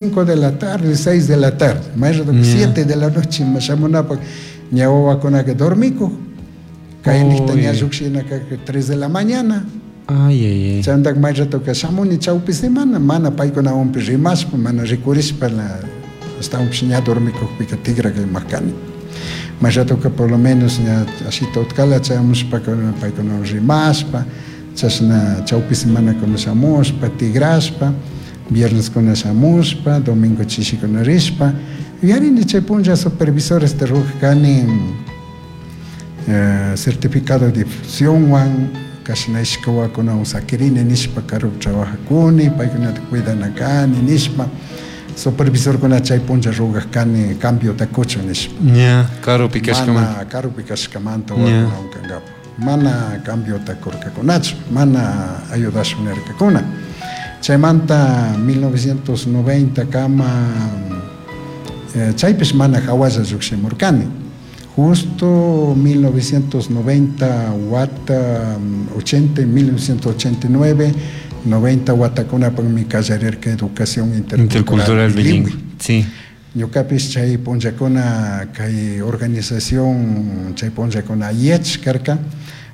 5 de la tarde, 6 de la tarde, may rato 7 de la noche ima shamunapak ña wawakunaka dormikuk, kaynikta ña llukshinaka 3 de la mañana. Ay, ay, ay. Chaymantak may ratoka shamuni chawpi semana, mana paykunawanpi rimashpa, mana rikurishpa, ashtawanpish ña dormikukpika tigraka imak kani. May ratoka por lo menos ña ashita utkala chayamushpaka paykunawan rimashpa, chashna chawpi semanakuna shamushpa, tigrashpa, vierneskuna shamushpa, domingo chishikuna rishpa. Yuyarini chay punlla supervisores ruraj kani certificado de difusionwan, kashna ishka wawakunawan sakirini nishpa karupi trabajakuni, paykunata cuidana kani nishpa, supervisorkuna chay punlla rugaj kani cambiota kuchun nishpa. Ña, karupi kashkamanta. Mana karupi kashkamanta wawakunawan kankapak. Mana cambiota kurkakunachu, mana ayudashun nirkakuna. Chaymanta 1990 kama, chaypish mana hawalla llukshimurkani. Justo 1990 wata, 80, 1989, 90 watakunapakmi kallarirka educación intercultural Intercultural bilingüe. bilingüe. Sí. Ñukapish chay punllakuna kay organización chay punllakuna IECH karka,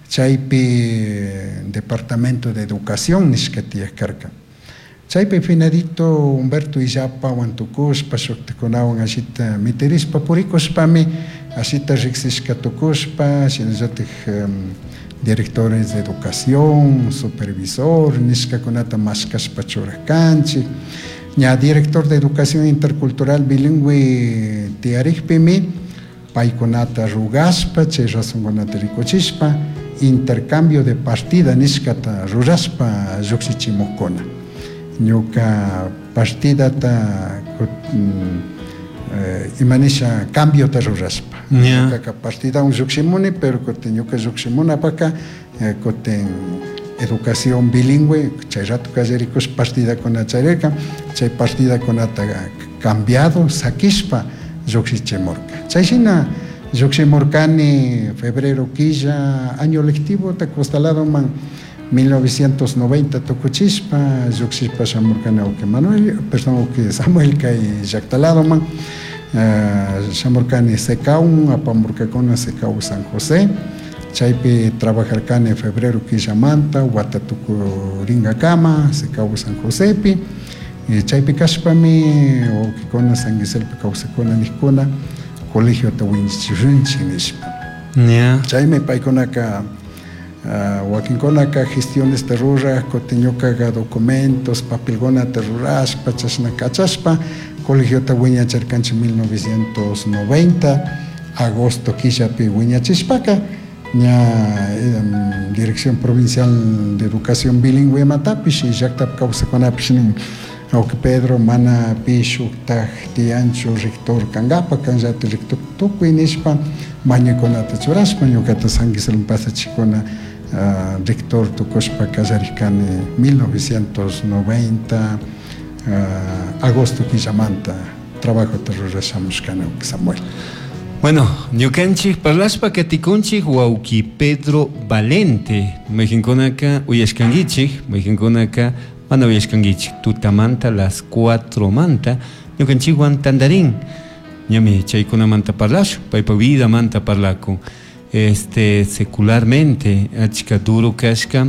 chaypi Departamento de Educación nishka tiyak karka. Chaypi finadito Humberto Illapawan tukushpa, shuktakunawan ashita mitirishpa purikushpami, ashita riksishka tukushpa, shinallatik directores de educación, supervisor nishkakunata mashkashpa churak kanchik. Ña director de educación intercultural bilingüe tiyarikpimi, paykunata rugashpa, chay razonkunata rikuchishpa, intercambio de partida nishkata rurashpa llukshichimukkuna. Ñuka partidata imanisha cambiota rurashpa. Ñukaka partidawan llukshimuni, pero kutin ñuka llukshimunapaka, kutin educación bilingüe, chay rato kallarikush partidakuna charirka, chay partidakunata cambiado, sakishpa llukshichimurka. Chay shina llukshimurkani febrero killa año lectivo ta costaladoman 1990 tukuchishpa llukshishpa shamurkani awki Manuel, perdón, awki Samuel kay llactaladoman, shamurkani Secaun, apamurkakuna Secau San José, chaypi trabajarkani febrero killamanta wata tukuringakama Secau San Josepi, chaypi kashpami wawkikuna San Giselpi kawsakuna nijkuna colegiota wiñachishunchik nishpa. Chaymi paykunaka, wakinkunaka gestionesta ruraj, kutin ñukaka documentos, papelkunata rurashpa, chashna kachashpa, colegiota wiñacharkanchik 1990, agosto killapi wiñachishpaka, ña Dirección Provincial de Educación Bilingüe matapish y llaktapi kawsakunapish nin, awki Pedro mana pi shuktaj tiyanchu rector kankapak, kanllati rector tukuy nishpa mañaykunata churashpa ñukata San Gisela pasachikuna, rector tukushpa kallarikani 1990, agosto killamanta trabajota rurashamushkani, awki Samuel. Bueno, ñukanchik parlashpa katikunchik wawki Pedro Valente, mayqinkunaka uyashkankichik, mayqinkunaka mana uyashkankichik, tutamanta las 4 manta ñukanchikwan tantarin, ñami chaykunamanta parlashun, paypa vidamanta parlakun, secularmente achka duro kashka,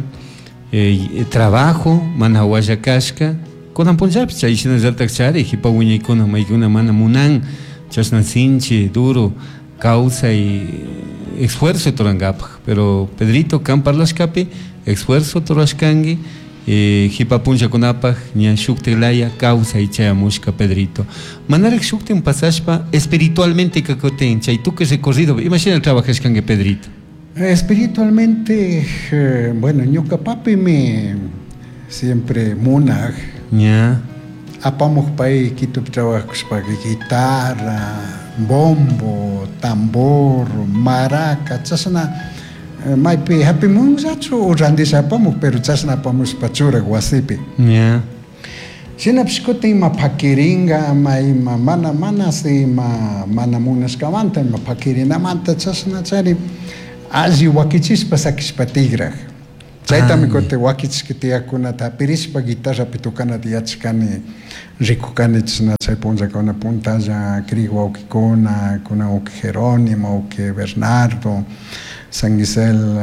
trabajo mana hawalla kashka, kunan punllapish chay shinallatak chari jipa wiñaykuna maykuna mana munan chashna sinchi duro kawsay esfuerzo turankapak, pero Pedrito kan parlashkapi esfuerzo turashkanki, jipa punllakunapak ña shuktilaya kawsay chayamushka Pedrito. Manarak shuktin pasashpa espiritualmente kakutin chay tukuy recorrido, imashina trabajashkanki Pedrito? Espiritualmente, bueno, ñuka papimi siempre munaj. Apamuj pay Quitopi trabajakushpaka guitarra, bombo, tambor, maraca, chashna maypi hapimunllachu o randisha apamuj, pero chashna apamushpa churak wasipi. Shinapish kutin ima pakiringa, ama ima mana, mana si ima mana munashkamanta, ima pakirinamanta chashna chari alli wakichishpa sakishpa tigraj. Chaytami kutin wakichishka tiyakunata hapirishpa guitarrapi tukanata yachakani, rikukani chashna chay punllakuna puntalla crik wawkikuna, kunan wawki Jerónimo, wawki Bernardo, San Gisel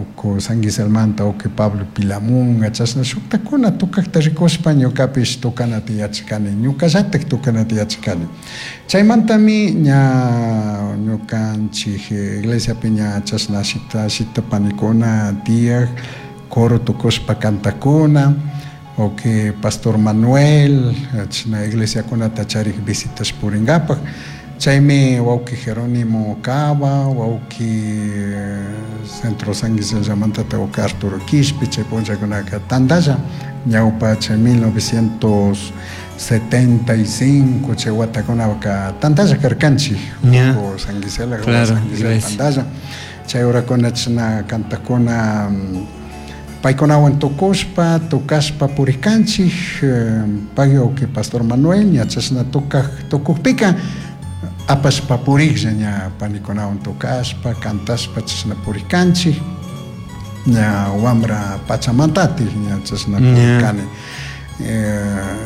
uku San Giselmanta wawki Pablo Pilamunga, chashna shuktakuna tukakta rikushpa ñukapish tukanata yachakani, ñukallatak tukanata yachakani. Chaymantami ña ñukanchik iglesiapi ña chashna ashita ashita panikuna tiyak, coro tukushpa kantakuna, wawki Pastor Manuel, chashna iglesiakunata charik visitas purinkapak, chaymi wawki Jerónimo Cava, wawki Centro San Guisellamantata wawki Arturo Quishpe, chay punllakunaka tantalla ñawpa chay 1975 chay watakunaka tantalla karkanchik, San Gisela, San Gisela tantalla, chay horakuna chashna kantakuna paykunawan tukushpa, tukashpa purikanchik, pay wawki Pastor Manuel ña chashna tukak tukukpika apashpa puriklla ña panikunawan tukashpa, kantashpa chashna purikanchik, ña wambra pachamantatik ña chashna purikani.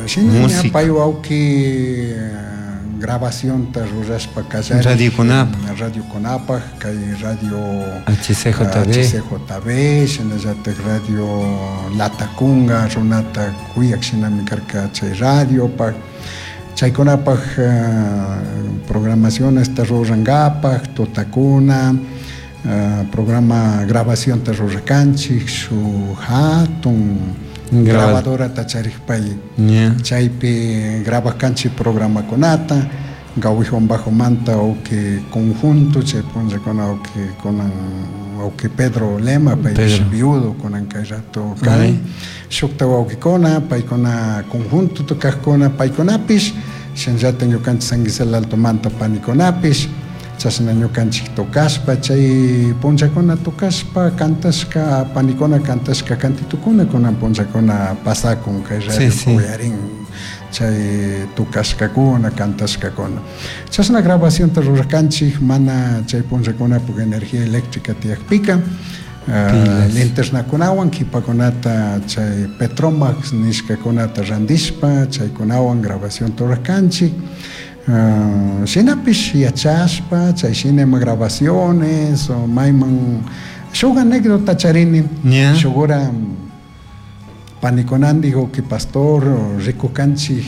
Shina ña pay wawki grabacionta rurashpa kallari radiokunapak, radiokunapak kay radio HCJB, HCJB, shinallatak radio Latacunga runata kuyak shinami karka chay radiopak, chaykunapak programacionesta rurankapak tutakuna, programa grabacionta rurakanchik shuk hatun grabadorata charik pay, chaypi grabakanchik programakunata, Gawijón Bajomanta wawki conjunto chay punllakuna wawki kunan wawki Pedro Lema paypish viudo kunan kay rato kan, shukta wawkikuna paykuna conjunto tukajkuna paykunapish shinallatak ñukanchik San Gisela Altomanta panikunapish chashna ñukanchik tukashpa chay punllakuna tukashpa kantashka panikuna kantashka kantitukuna kunan punllakuna pasakun kay radio uyarin chay tukashkakuna kantashkakuna, chashna grabacionta rurakanchik mana chay punllakunapuk energía eléctrica tiyakpika, linternakunawan kipakunata chay Petromax nishkakunata randishpa chaykunawan grabacionta rurakanchik, shinapish yachashpa chay shina ima grabaciones o mayman shuk anécdota charini, shuk hora panikunandik wawki pastor rikukanchik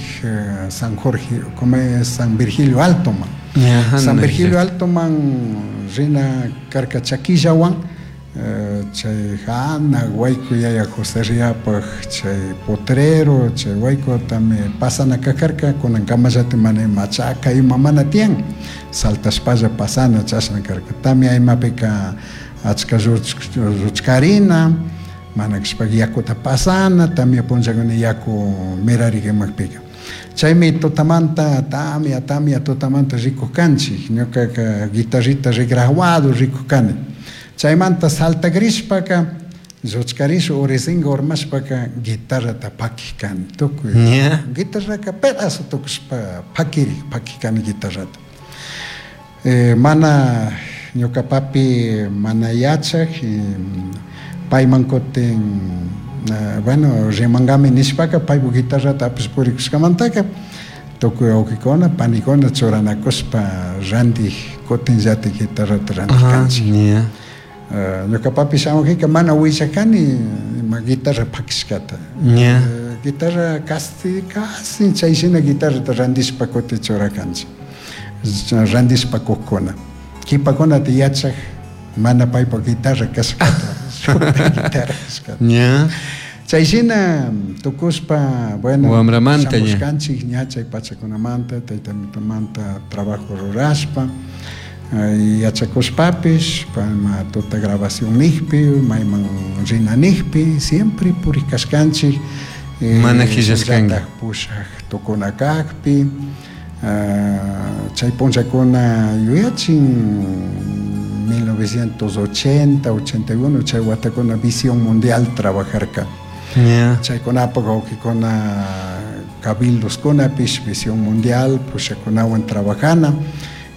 San Jorge, como es San Virgilio Altoman, San Virgilio Altoman rina karka chakillawan, chay jana wayku yaya José Riapak chay potrero chay waykutami pasana kakarka kunan kamallati mana ima chaka ima mana tiyan saltashpalla pasana chashna karka tamia imapika achka lluchkarina mana kashpaka yakuta pasana tamia punllakuna yaku mirarik imakpika chaymi tutamanta tamia tamia tutamanta rikuk kanchik ñukaka guitarrita rigrajuado rikuk kani chaymanta saltakrishpaka lluchkarish urisinga urmashpaka guitarrata pakik kani tukuy guitarraka pedazo tukushpa pakirik pakik kani guitarrata, mana ñuka papi mana yachak payman kutin bueno rimankami nishpaka paypuk guitarrata apash purikushkamantaka tukuy wawkikuna panikuna churanakushpa rantik kutinllatik guitarrata rantik kanchik. Ñuka papi shamujika mana willakani ima guitarra pakishkata, guitarra casi casi chay shina guitarrata randishpa kutin churakanchik, randishpa kukkuna kipakunata yachak mana paypak guitarra kashkata shukta guitarra kashkata. Chay shina tukushpa bueno wambramanta shamushkanchik ña chay pachakunamanta tayta mitumanta trabajo rurashpa yachakushpapish ma tuta grabación nijpi mayman rina nijpi siempre purikashkanchik mana qillashkanka pushak tukuna kakpi, chay punllakuna yuyachin 1980, 81 chay watakuna Visión Mundial trabajarka, chaykunapak wawkikuna cabildoskunapish Visión Mundial pushakunawan trabajana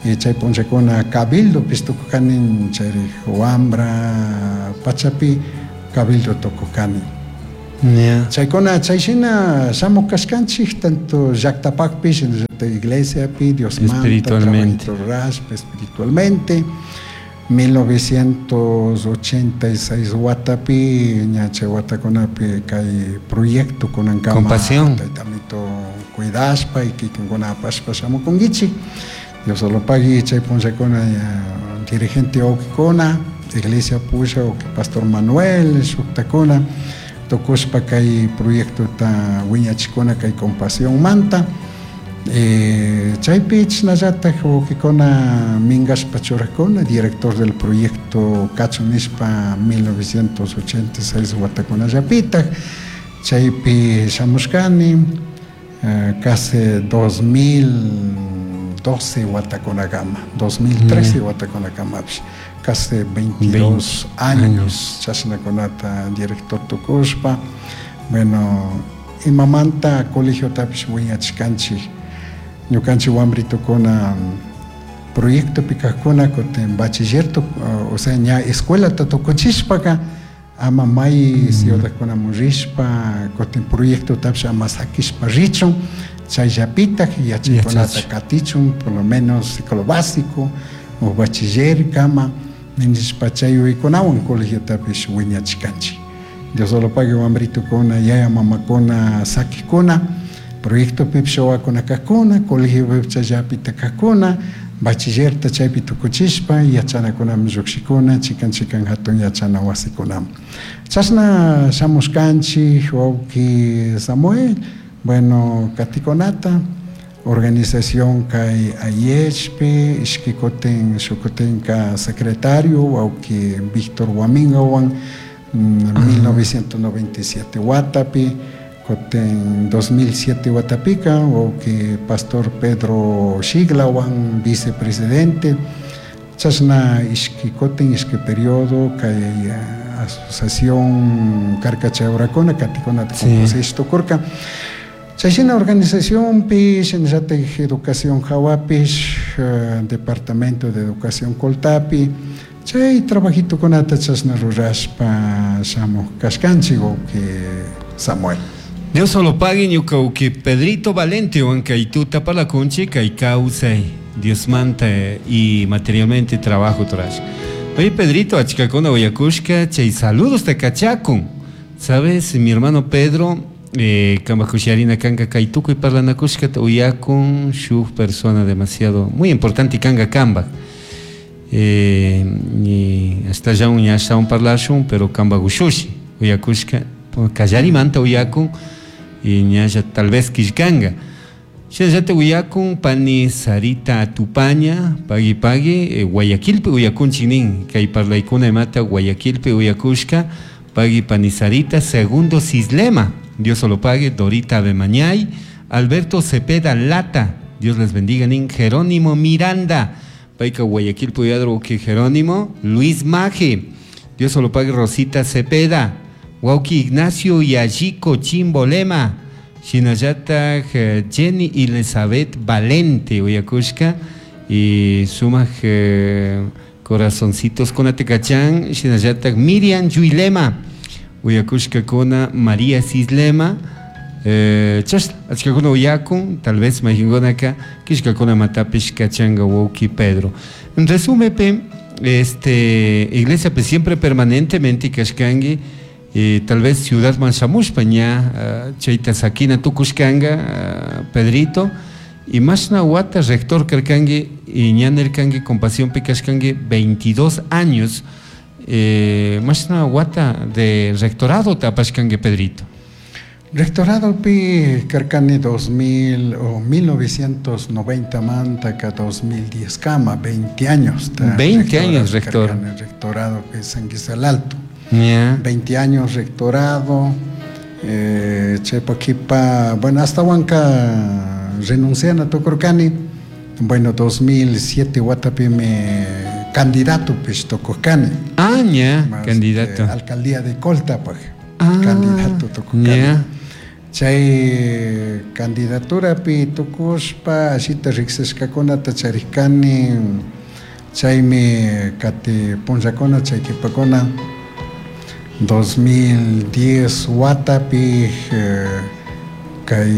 y chay punllakuna cabildopish tukukanin chayrik wambra pachapi. Cabildo tukuqani. Chaykuna chayshina shamuq kashkanchik tanto llaqtapaqpish iglesiapi Diosmanta Espiritualmente. Rurashpa espiritualmente. 1986 watapi ña chay watakunapi kay proyecto kunankama Compasión. Taytamito cuidashpa y kikinkuna apashpa shamukunkichik. Dios lo pagui chay punllakuna dirigente wawkikuna iglesia pusha wawki Pastor Manuel shuktakuna tukushpa kay proyectota wiñachikuna kay Compasión manta. Chaypi chashnallatak wawkikuna minkashpa churakuna director del proyecto kachun nishpa 1986 watakunallapitak chaypi shamushkani casi 2012 watakunakama, 2013 watakunakamapish, casi 22 años chashnakunata director tukushpa. Bueno, imamanta colegiotapish wiñachishkanchik ñukanchik wambritukuna proyectopi kajkuna kutin bachiller o sea ña escuelata tukuchishpaka ama may ciudadkunaman rishpa kutin proyectotapish ama sakishpa richun chayllapitak yachaykunata katichun por lo menos ciclo básico o bachiller kama nishpa chay yuyaykunawan colegiotapish wiñachishkanchik. Dios lo pague wambritukuna yaya mamakuna sakikuna proyectopipish wawakuna kajkuna colegiopipish chayllapita kajkuna bachillerta chaypi tukuchishpa yachanakunaman llukshikuna chikan chikan hatun yachana wasikunaman. Chashna shamushkanchik wawki Samuel, bueno, katikunata organización kay AIECHpi ishki kutin shukutinka secretario wawki Víctor Huamingawan 1997 watapi kutin 2007 watapika wawki Pastor Pedro Xiglawan vicepresidente chashna ishki kutin ishki periodo kay asociación karka chay horakuna katikunata composish tukurka. Chayshina organizacionpi shinallatak educación hawapish departamento de educación Coltapi chay trabajitukunata chashna rurashpa shamuj kashkanchik wawki Samuel. Dios solo pague ñuka wawki Pedrito Valente kay tuta parlakunchik kay kawsay Diosmanta y materialmente trabajo turash. Oye Pedrito, achkakuna uyakushka chay saludos te kachakun. Sabes, mi hermano Pedro, kambaj kushiarina kanka kay tukuy parlanakushkata uyakun shuk persona demasiado muy importante kanka kambaj. Y hasta ya un ya un parlashun, pero kambaj ushushi uyakushka kallarimanta uyakun y ñalla tal vez killkanga. Shinallata uyakun pani Sarita Atupaña, pagui pagui, Guayaquilpi uyakunchik nin, kay parlaykuna imata Guayaquilpi uyakushka, pagui pani Sarita, Segundo Cislema, Dios lo pague, Dorita Abemañay, Alberto Cepeda Lata, Dios les bendiga nin, Jerónimo Miranda, payka Guayaquilpi uyadro que Jerónimo, Luis Maje, Dios lo pague, Rosita Cepeda, Wauki Ignacio Yayiko Chimbolema, Shinallata Jenny Elizabeth Valente uyakushka y sumaj corazoncitos con atekachan, Shinallata Miriam Yuilema uyakushka kona María Cislema, chashna achkakuna uyakun, tal vez mayhinkunaka kishkakuna matapish kachanga wawki Pedro. En resumen, pe, iglesia pe siempre permanentemente kashkangi, tal vez ciudad manshamushpa ña chayta sakina tukushkanga Pedrito y mashna wata rector karkangi y ña nirkangi Compasión pi kashkangi 22 años, mashna wata de rectorado tapashkangi Pedrito. Rectorado pi karkani 2000 o 1990 manta ka 2010 kama, 20 años ta 20 años rector. Karkani rectorado pi San Gisela el Alto. 20 años rectorado, chaypakipa, bueno, hasta huanca renuncian a tukurkani, bueno, 2007 watapi me candidato pues tukurkani. Ah, ya, Más, candidato. Alcaldía de Colta, pues, Ah, candidato tukurkani. ya. Chay candidatura pi tukushpa, ashita riksishkakunata charikani, chaymi kati punllakuna, chay kipakuna, 2010 watapi kay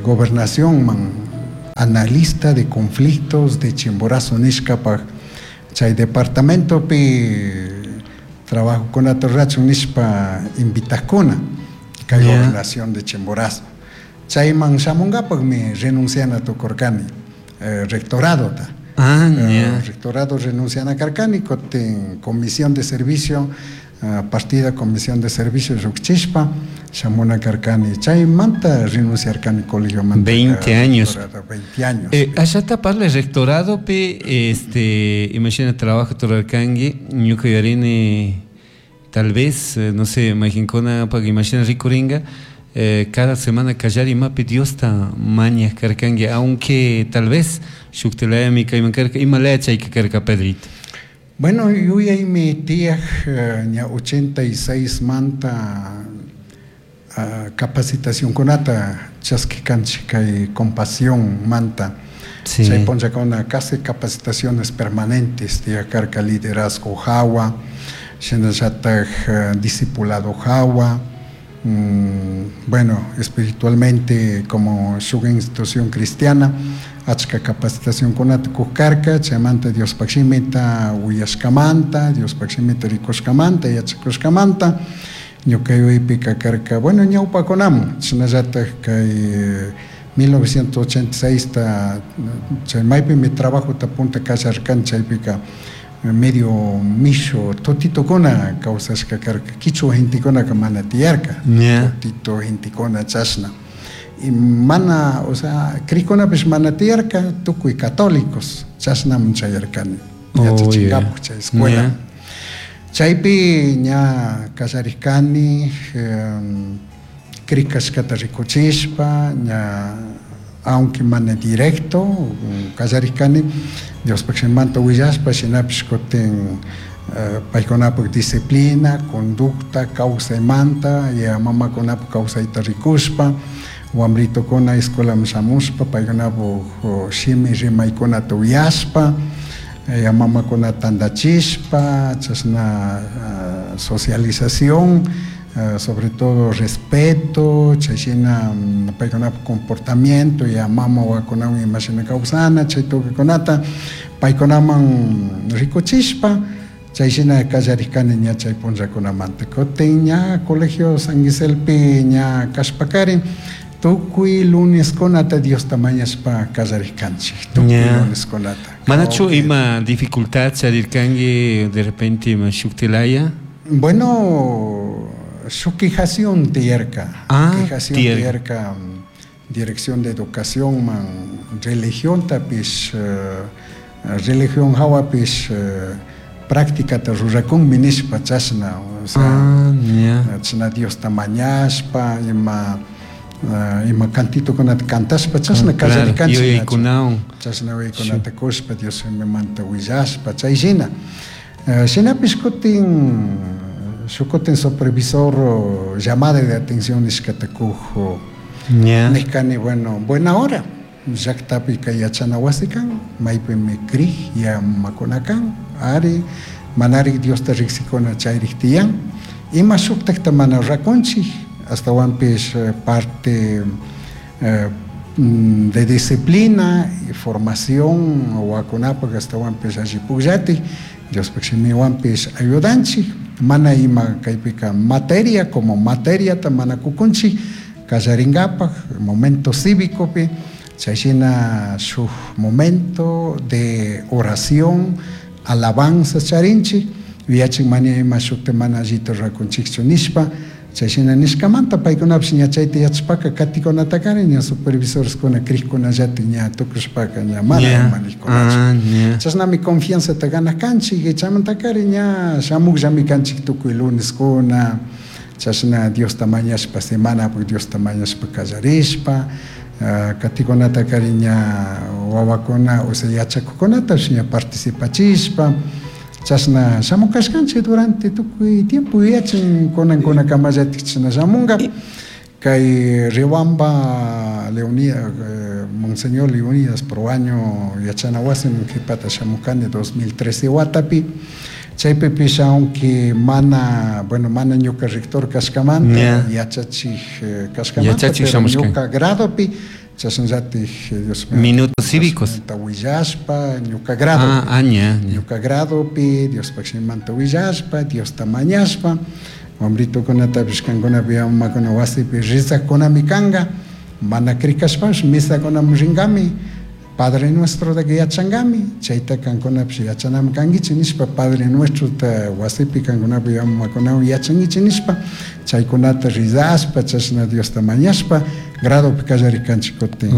gobernacionman analista de conflictos de Chimborazo nishkapaj chay departamentopi trabajokunata rurachun nishpa invitakuna kay gobernación de Chimborazo. Chayman shamunkapakmi renunciana tukurkani rectoradota. Rectorado renunciana karkani kutin comisión de servicio partida comisión de servicio llukchishpa shamuna karkani chaymanta renunciarkani colegiomanta. 20 años. 20 años. Allata parla rectoradopi imagina trabajo turarkanki ñuka yuyarini tal vez no sé mayqinkuna imagina rikurinka cada semana kallari imapi Diosta mañaj karkanki aunque tal vez shuktilayami kayman karka imalaya chayka karka Pedrito. Bueno, yuyaymi tiyaj ña 86 manta capacitacionkunata chaskikanchik kay compasión manta. Sí. Chay punllakuna casi capacitaciones permanentes tiyaj karka liderazgo hawa, shinallataj discipulado hawa, bueno, espiritualmente como shuk institución cristiana achka capacitacionkunata kuj karka, chaymanta Diospaj shimita uyashkamanta, Diospaj shimita rikushkamanta, yachakushkamanta ñuka yuyaypika karka, bueno, ñawpakunaman shinallataj kay 1986 ta chay maypimi trabajota punta kallarkani chaypika medio mishu tutitukuna kawsashka karka, kichwa gentekunaka mana tiyarka, tutito gentekuna chashna. Y mana, o sea, crikunapish mana tiyarka, tukuy católicos chashnaman chayarkani, yachachinkapak chay escuela. Chaypi ña kallarikani, krikashkata rikuchishpa, ña aunque mana directo, kallarikani, Diospaj shimanta willashpa, shinapish kutin paykunapaj disciplina, conducta, kawsaymanta, ya mamakunapaj kawsayta rikushpa, wamritukuna escuelaman shamushpa, paykunapaj shimi rimaykunata uyashpa, ya mamakuna tandachishpa, chashna socialización, sobre todo respeto, chayshina paykunapaj comportamiento, ya mama wawakunawan imashina kawsana, chay tukukunata paykunaman rikuchishpa, chayshina kallarikani ña chay punllakunamanta. Kutin ña colegio San Giselpi ña kashpakarin, tukuy luneskunata Diosta mañashpa kallarikanchik, tukuy luneskunata. Manachu ima dificultad charirkanki de repente ima shuktilaya? Bueno, shuk quijación tiyarka. Quijación tiyarka, dirección de educación man religión tapish, religión hawapish práctica ta rurakunmi nishpa chashna, o sea, chashna Diosta mañashpa, ima ima cantitokunata cantashpa chashna kallarikanchik, yuyaykunawan. Chashna yuyaykunata kushpa Dios manta willashpa chay shina. Shinapish kutin shukutin supervisor llamada de atención nishkata kuj nishkani, bueno, buena hora llaktapi kay yachana wasi kan, maypimi krij ya mamakuna kan, ari manari Diosta riksikuna chayrik tiyan, ima shuktakta mana rakunchik, astawanpish parte de disciplina y formación wawakunapaj astawanpish alli pukllatik, Diospaj shimiwanpish ayudanchik, mana ima kaypika materia como materiata mana kukunchik kallarinkapak momento cívicopi, chayshina shuk momento de oración, alabanza charinchik, yuyachin mana ima shukta mana allita rakunchikchu nishpa, chayshina nishkamanta paykunapish ña chayta yachashpaka katikunatakarin ña supervisoreskuna krikkunallatik ña tukushpaka ña mana ima nijkunachu. Chashnami confianzata ganaj kanchik, chaymantakari ña shamukllami kanchik tukuy luneskuna, chashna Diosta mañashpa semanapuk Diosta mañashpa kallarishpa, katikunatakarin ña wawakuna, o sea, yachakukunatapish ña participachishpa, chashna shamukashkanchik durante tukuy tiempo yuyachin kunankunakamallatik chashna shamunka. Kay Riobamba Leonidas, Monseñor Leonidas Proaño yachana wasiman qhipata shamukani 2013 watapi, Chaypipish aunque mana, bueno, mana ñuka rector kashkamanta, yachachik kashkamanta, pero ñuka gradopi chashnallatik Dios Minutos cívicos. Willashpa ñuka gradopi. Ñuka gradopi Diospaj shimimanta willashpa, Diosta mañashpa, wambritukunatapish kankunapi mamakuna wasipi rizajkunami kanga, mana crikashpapish misakunaman rinkami, Padre Nuestrotaka yachankami, chayta kankunapish yachanami kankichik nishpa, Padre Nuestrota wasipi kankunapi mamakunawan yachankichik nishpa, chaykunata rizashpa, chashna Diosta mañashpa, gradopi kallarikanchik kutin.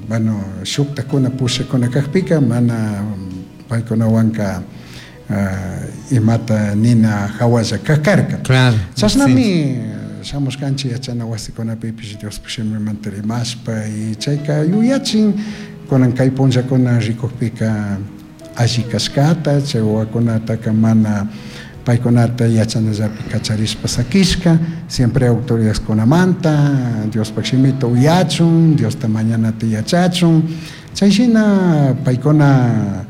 Bueno, shuktakuna pushakuna kakpika mana paykunawanka imata nina hawalla kakarka. Claro. Chashnami shamushkanchik yachana wasikunapipish Diospaj shimimanta rimashpa y chayka yuyachin kunan kay punllakuna rikukpika alli kashkata, chay wawakunataka mana paykunata yachanallapi kacharishpa sakishka, siempre autoridadkunamanta Diospaj shimita uyachun, Diosta mañanata yachachun, chay shina paykuna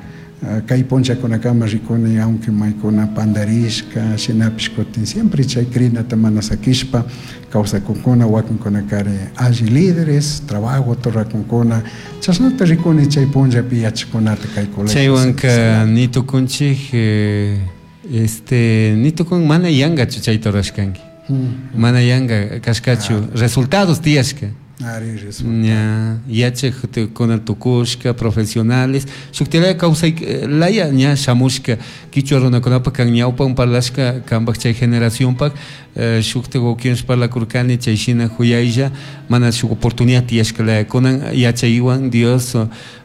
kay punllakunakama rikuni aunque maykuna pandarishka shinapish kutin siempre chay crinata mana sakishpa kawsakunkuna, wakinkunakari alli líderes, trabajota rurakunkuna, chashnata rikuni chay punllapi yachakunata kay colegio. Chaywanka ni tukunchik ni tukun mana yankachu chayta rurashkanki. Mana yanka kashkachu, resultados tiyashka. Ari, resultado. Yachak kuna tukushka, profesionales, shuktilaya kawsay laya ña shamushka, kichwa runakunapak kan ñawpan parlashka kanpak chay generacionpak, shukta wawkiwan parlakurkani chay shina huyaylla, mana shuk oportunidad tiyashka laya kunan yachaywan Dios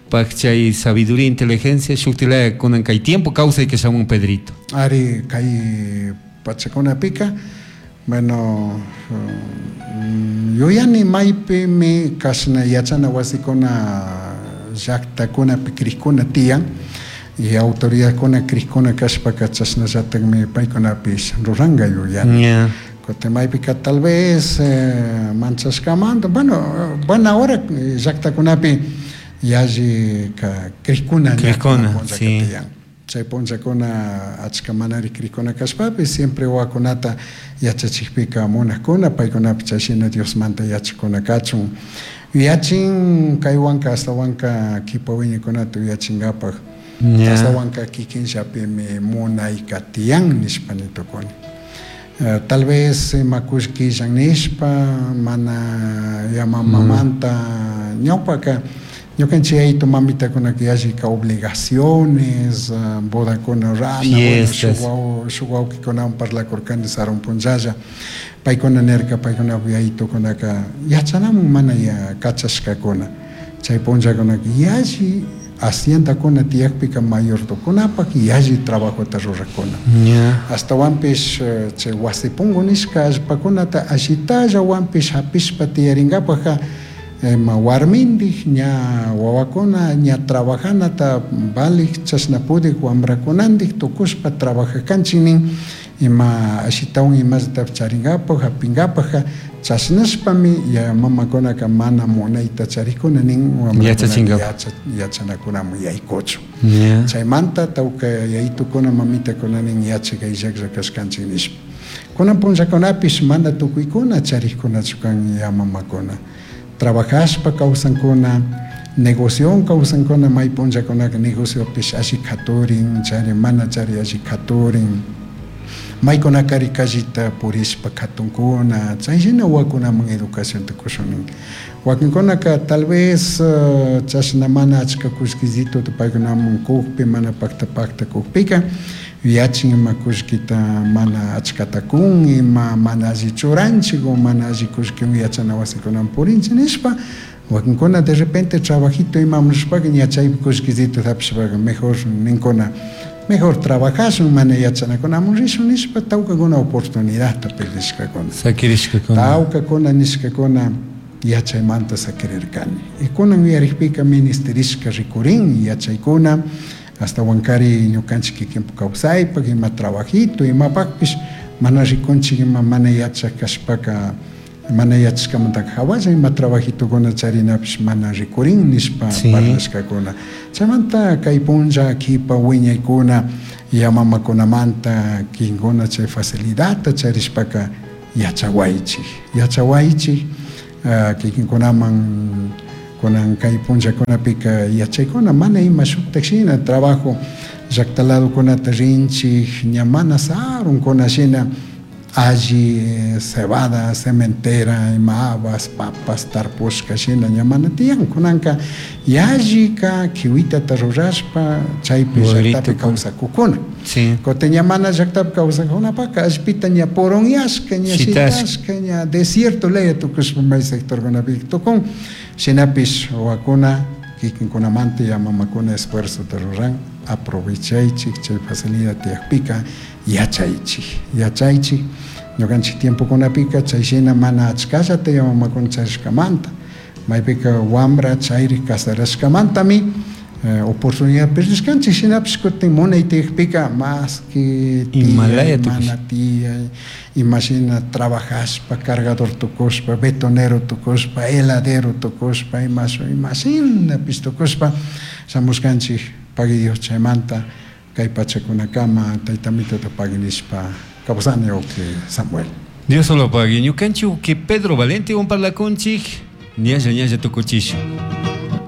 pak chay sabiduría, inteligencia, shuktilaya kunan kay tiempo kawsay que shamun Pedrito. Ari, kay pachakunapika, bueno, yuyani maypimi kashna yachana wasikuna llaktakunapi krikuna tiyan y autoridadkuna krikuna kashpaka chashnallatakmi paykunapish ruranka yuyani. Kutin maypika tal vez manchashkamanta, bueno, buena hora llaktakunapi yalli krikuna Krikuna, sí. tiyan. Chay punllakuna achka manari krikuna kashpapish siempre wawakunata yachachikpika munakuna paykunapi chayshina Diosmanta yachakuna kachun. Yuyachin kaywanka ashtawanka kipa wiñaykunata yuyachinkapak ashtawanka kikinllapimi munayka tiyan nishpa nitukuni. Tal vez ima kullkillan nishpa mana yamamamanta ñawpaka ñukanchik yaytu mamitakunaka yallika obligaciones, bodakuna rurana, Fiestas. shuk wawkikunawan parlakurkani sarun punllalla, paykuna nirka paykunapak yaytukunaka yachanamun mana kachashkakuna, chay punllakunaka yalli haciendakuna tiyakpika mayordokunapak yalli trabajota rurakuna. Ashtawanpish chay wasi punku nishka allpakunata ashitallawanpish hapishpa tiyarinkapakka ima warmindik ña wawakuna ña trabajanata valik chashna pudik wambrakunandik tukushpa trabajakanchik nin ima ashitawan imallatapish charinkapak hapinkapakka chashnashpami ya mamakunaka mana munayta charikuna nin wambrakunaka Yachachinkapak. yachanakunaman yaykuchun. Chaymanta tawka yayitukuna mamitakuna nin yachak ayllaklla kashkanchik nishpa. Kunan punllakunapish mana tukuykuna charikkunachu kan ya mamakuna. Trabajashpa kawsankuna, negocion kawsankuna, may punllakunaka negociopish alli katurin, chari mana chari alli katurin. Maykunakari callita purishpa katunkuna, chayshina wawakunaman educacionta kushunin. Wakinkunaka tal vez chashna mana achka kullkillituta paykunaman kukpi, mana pakta pakta kukpika, yuyachin ima kullkita mana achkata kun, ima mana alli churanchik o mana alli kullkiwan yachana wasikunaman purinchik nishpa, wakinkuna de repente trabajito imaman rishpaka ña chaypi kullkillituta hapishpaka mejor ninkuna, mejor trabajashun, mana yachanakunaman rishun nishpa tawkakuna oportunidadta perdishkakuna. Sakirishkakuna. Tawkakuna nishkakuna yachaymanta sakirirkani. Y kunan yuyarikpika ministerishka rikurin yachaykuna, hasta wankari ñukanchik kikinpak kawsaypak, ima trabajito, imapakpish mana rikunchik, ima mana yachak kashpaka Mana yachashkamantaka hawalla ima trabajitokuna charinapish mana rikurin nishpa parlashkakuna. Chaymanta kay punlla kipa wiñaykuna yamamakunamanta kinkuna chay facilidadta charishpaka yachawaychik, yachawaychik kikinkunaman kunan kay punllakunapika yachaykuna mana ima shuktak shina trabajo llakta ladokunata rinchik ña mana sarunkuna shina alli cebada, cementera, ima habas, papas tarpushka shina ña mana tiyan. Kunanka yallika kiwitata rurashpa chaypi llaktapi kawsakukuna. Kutin ña mana llaktapi kawsakunapaka allpita ña puronyashka, ña shitashka, ña desierto laya tukushpa may sectorkunapi tukun. Shinapish wawakuna kikinkunamanta ya mamakuna esfuerzota ruran, aprovechaychik chay facilidad tiyakpika yachaychik, yachaychik. Ñukanchik tiempokunapika chay shina mana achkallata ya mamakuna charishkamanta, maypika wambra chayrik casarashkamantami oportunidad perdishkanchik, shinapish kutin munay tiyakpika más que tiyay, mana tiyay, imashina trabajashpa, cargador tukushpa, betonero tukushpa, heladero tukushpa, imashinapish tukushpa shamushkanchik, pagui Dios chaymanta kay pachakunakama tayta mitota pagui nishpa kawsani uki Samuel. Dios solo pagui. Ñukanchik uki Pedro Valente un parlakunchik, ñalla ñalla tukuchishun.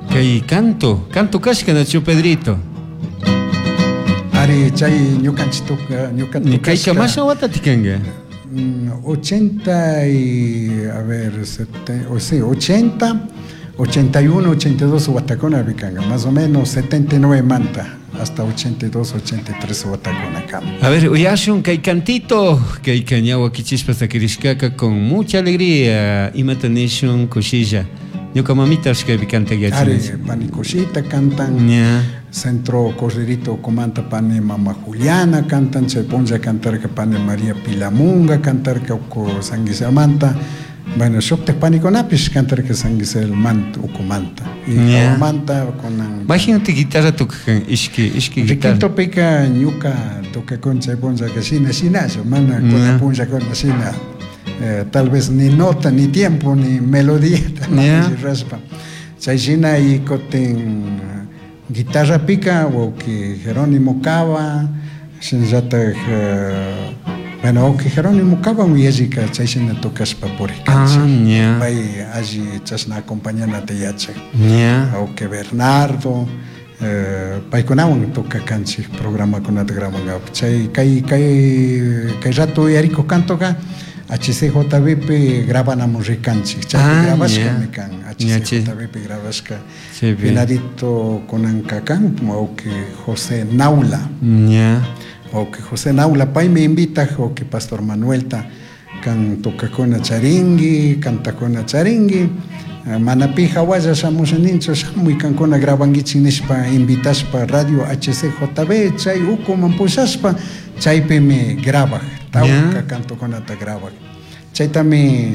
Kay canto, canto kashka nachu Pedrito. Ari chay ñukanchik tuka, ñuka Ni kay tukashka. kamasha watati kanka. 80 y, a ver, sete, o sí, 80, 81, 82 watakuna kanka, más o menos 79 manta, hasta 82, 83 watakuna kama. A ver, uyashun kay cantito, kay kañawa kichispa sakirishkaka con mucha alegría, imata nishun kushilla. Ñuka mamita kaypi cantag Ari, yachanchik. pani kushita cantan. Ña. Centro Corderito Comanta pani mama Juliana cantan, chay punlla cantarka pani María Pilamunga cantarka uku Sanguisamanta. Bueno, shuktak panikunapish cantarka San Gisel manta, ukumanta. Y Ña. manta kunan. Imagínate guitarra tocan, ishki, ishki guitarra. Riquitopika ñuka tocakun chay punllaka shina shinalla, mana kuna punlla kuna shina. Tal vez ni nota, ni tiempo, ni melodía, Ña. ni raspa. Chay shina y kutin guitarra pica, o que Jerónimo Cava, shinallatak, bueno, o que Jerónimo Cava uyallika chay shina tocashpa purikanchik. Ah, ña. Pay alli chashna acompañanata yachak. Ña. O que Bernardo, paykunawan tocakanchik programakunata grabangapak. Chay kay, kay, kay rato uyarikuk cantoka HCJB pi grabanamun rikanchik. Chaypi Ah, grabashka ña. mi kan. Ña, che. HCJB pi grabashka. Sí, bien. Finadito kunanka kan, o que José Naula. Ña. O que José Naula pay me invita, o que Pastor Manuelta kan tocakuna charingui, cantakuna charingui. Manapi hawalla shamusha ninchu, shamuy kankuna grabanguichik nishpa invitashpa radio HCJB chay ukuman pushashpa chaypimi grabaj, tawka cantokunata grabaj. Chaytami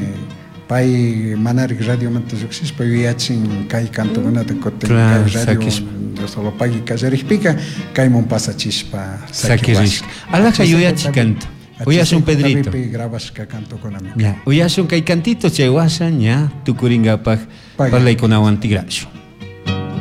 pay manarik radiomanta lluqshishpa yuyachin kay cantokunata kutin Claro, kay radio sakishpa. solo pagui kallarikpika kayman pasachishpa Sakirishka. sakiwashka. Alaja yuyachi canto. Uyashun Pedrito. HCJB grabashka cantokunami. Ya, uyashun kay cantito chay washa ña tukuringapaj Pagui. parlaykunawan tigrashun.